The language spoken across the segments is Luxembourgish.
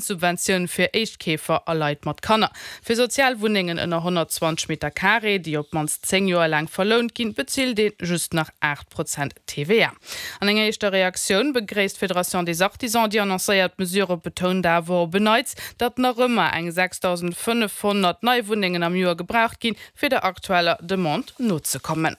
Subventioun fir Éischtkeefer a Leit mat Kanner. Fir sozial Wunnengen ënner 120 Meter Carré, déi op d'mannst 10 Joer laang verlount ginn, bezilt ee just nach 8 Prozent TVA. An enger éischter Reaktioun begréisst d'Fédération des Artisans déi annoncéiert Mesure, betount awer op en Neits, datt nach ëmmer eng 6.500 nei Wunnengen am Joer gebraucht ginn, fir der aktueller Demande nozekommen.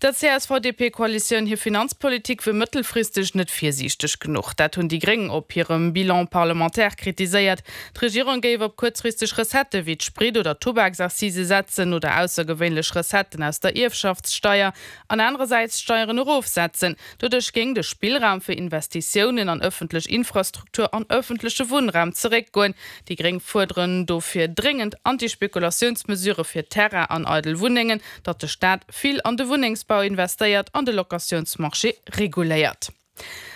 Der CSV-DP-Koalitioun hir Finanzpolitik wier mëttelfristeg net virsiichteg genuch. Dat hunn déi Gréng op hirem Bilan parlementaire kritiséiert. D'Regierung géif op kuerzfristeg Recettë wéi d'Sprit oder d'Tubaksaccise setzen oder aussergewéinlech Recetten aus der Ierfschaftssteier an anerersäits d'Steieren erofsetzen. Doduerch géing de Spillraum fir Investitiounen an ëffentlech Infrastruktur an ëffentleche Wunnraum zeréckgoen. Déi Gréng fuerderen dofir dréngend Antispekulatiounsmesurë fir Terrain an eidel Wunnengen, datt de Staat vill an de Wunnengsbau investéiert an de Locatiounsmarché reguléiert.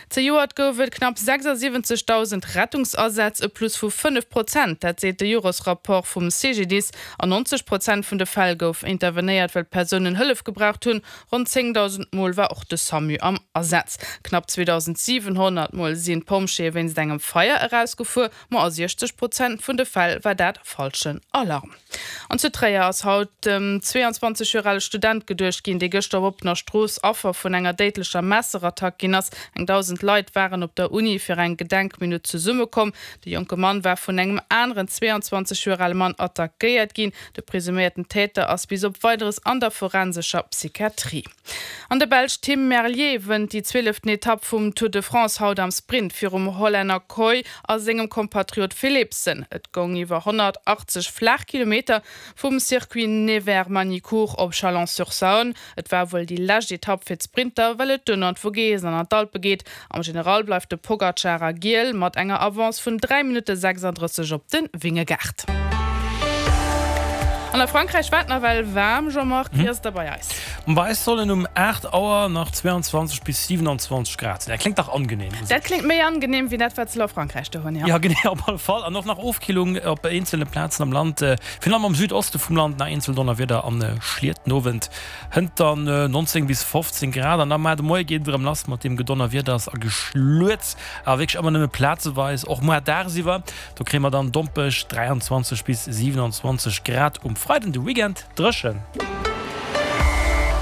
Zejoert gouf et knapp 76.000 Rettungsasätz, e Plus vu 5 Prozent. Dat seet de Joresrapport vum CGDIS. An 90 Prozent vun de Fäll gouf intervenéiert, well d'Persounen Hëllef gebraucht hunn. Ronn 10.000 Mol war och de Samu am Asaz. Knapp 2.700 Mol sinn d'Pompjeeë wéinst engem Feier erausgefuer, ma a 60 Prozent vun de Fäll war dat falschen Alarm. An zu Tréier ass haut dem 22 Joer ale Student geduecht ginn, dee gëschter op oppener Strooss Affer vun enger déidlecher Messerattack ginn ass. Eng 1.000 Leit waren op der Uni fir eng Gedenkminutt zesummekomm. De jonke Mann war vun engem aneren 22 Joer ale Mann attackéiert ginn. De presuméierten Täter ass bis op Weideres an der forensescher Psychiatrie. An de Belsch Tim Merlier wënnt déi zwieleften Etapp vum Tour de France haut am Sprint virum Hollänner Kooij a sengem Kompatriot Philipsen. Et goung iwwer 180 flaach Kilometer vum Circuit Nevers-Magny-Cours op Chalon-sur-Saône. Et war wuel déi lescht Etapp fir d'Sprinter, well et duerno an d'Vogesen an an d'Alpe geet. Am General bleift de Pogacar a Giel mat enger Avance vun 3 Minutte 36 op de Vingegaard. An a Frankräich war et nawell waarm, Jean-Marc, wéi ass et da bei eis? Bei eis sollen um 8 Auer nach 22 bis 27 Grad sinn. Dat kléngt dach angenehm u sech. Dat kléngt méi angenehm wéi dat, wat se elo a Frankräich do hunn, jo. Jo, genee, op alle Fall. An och nach Ofkillung op eenzele Plazen am Land, virun allem am Südoste vum Land, nach eenzel Donnerwieder an Schliet. Den Owend hënt dann 19 bis 15 Grad an da mar de Moie geet et erëm lass mat deem Gedonnerwieders a Geschluets, awer wierklech ëmmer nëmme plazeweis, och muar dagsiwwer. Do kréie mer dann dompeg 23 bis 27 Grad um Freiden. De Weekend dréchen.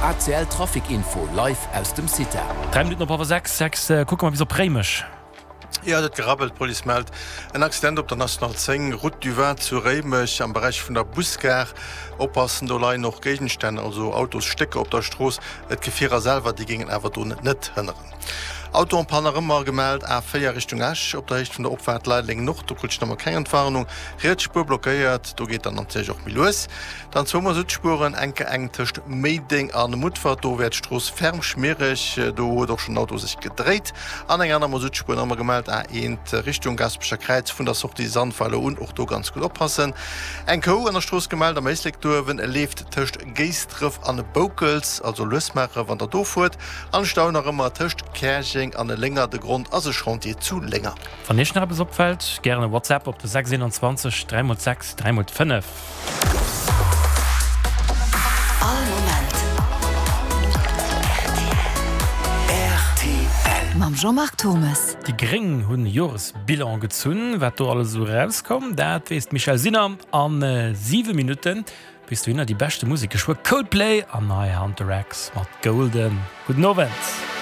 ACL Trafic Info live aus dem CITA. 3 Minutten op hallwer 6, 6 kucke mer bis op Réimech. Jo, et huet gerabbelt. D'Police mellt en Accident op der National 10, Route du Vin zu Réimech am Beräich vun der Busgare. Oppassen, do leien och Géigenstänn, also Autosstécker op der Strooss. Et Gefierer selwer, déi géingen awer do net hënneren. Auto en panne nach ëmmer gemellt, A4 Richtung Esch op der Héicht vun der Opfaart Leideleng Nord, do krut ech nach emol keng Entwarnung. Riets Spuer blockéiert, do geet dann natierlech och méi lues. Dann zwou Masuttspueren, enke eng tëscht Méideng a Mutfert, do wär d'Strooss ferm schmiereg, do huet och schonn en Auto sech gedréit. An eng aner Masuttspuer nach ëmmer gemellt, A1 Richtung Gaasperecher Kräiz vun der Sortie Sandweiler un, och do ganz gutt oppassen. Eng Kou an der Strooss gemellt am Éislek do uewen, leeft tëscht Géisdref an Boukels, also lues maache wann der do fuert. An Stau nach ëmmer tëscht Käerjeng an Lénger, de Grond ass e Chantier zu Lénger. Wann Iech nach eppes opfält, gären e WhatsApp op de 621 3 x 6 3 x 5. All Moment rtl. Mam Jean-Marc Thommes. Déi Gréng hunn e Joresbilan gezunn. Wat do alles esou erauskoum, dat weess d'Michèle Sinner a 7 Minutten. Bis dohinner déi beschte Musek geschwë Coldplay an nei Hunter X mat Golden. Gudden Owend.